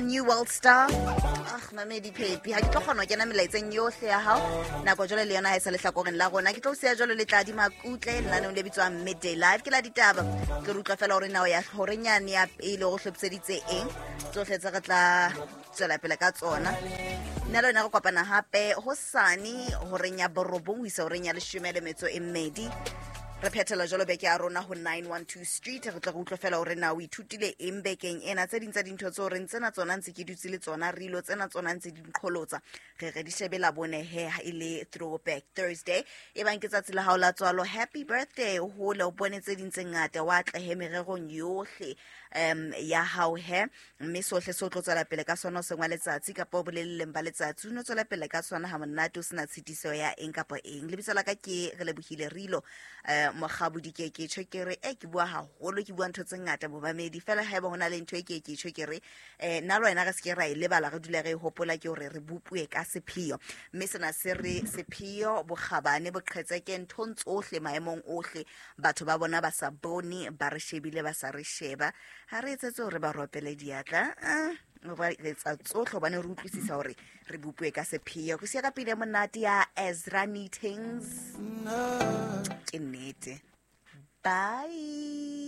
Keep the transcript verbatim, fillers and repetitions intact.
New World Star. Ah, mamedi Phepi, ha ke tlo kgona ho kena melaetseng yohle ya hao. Nako jwale le yona ha e sa lehlakoreng la rona. Ke tlo o siya jwalo le Tladi Makutle lenaneong le bitswang Midday Live. Ke la ditaba. Ke re utlwa fela hore nao ya horenyane ya pele o hlophiseditse eng. Tsohle tse re tla tswela pele ka tsona. Nna le wena re kopana hape hosane horeng ya borobong ho isa horeng ya leshome le metso e mmedi. Re phethela jwalo beke ya rona ho nine one two Street. Re tla re utlwe fela hore na o ithutile eng bekeng ena. Tse ding tsa dintho tseo reng tsena tsona ntse ke dutse le tsona, re ilo tsena tsona ntse di nqholotsa. Re re di shebe la bone he ha e le Throwback Thursday. E bang ke tsatsi la hao la tswalo, happy birthday. O hole o bone tse ding tse ngata, wa atlehe mererong yohle um ya hao he. Mme sohle se o tlo tswela pele ka sona o seng wa letsatsi kapa o boleleleng ba letsatsi, o no tswela pele ka sona ha monate o sena tshitiso ya eng kapa eng. Lebitso la ka ke Relebohile Rilo, eh, Mokgabodi ke ke tjho ke re, eh, ke bua haholo, ke bua ntho tse ngata bomamedi. Fela haeba hona le ntho e ke ke tjho ke re, eh, nna le wena re se ke ra e lebala, re dule re e hopola, ke hore re bopuwe ka sepheo. Mme sena se re sepheo, bokgabane, boqhetseke nthong tsohle, maemong ohle. Batho ba bona ba sa bone, ba re shebile, ba sa re sheba. Ha re etsetse hore ba ropele diatla, eh, re etsa tsohle hobane re utlwisisa hore re bopuwe ka sepheo. Re siya ka pina e monate ya Ezra Meetings. Ke nnete. Bye.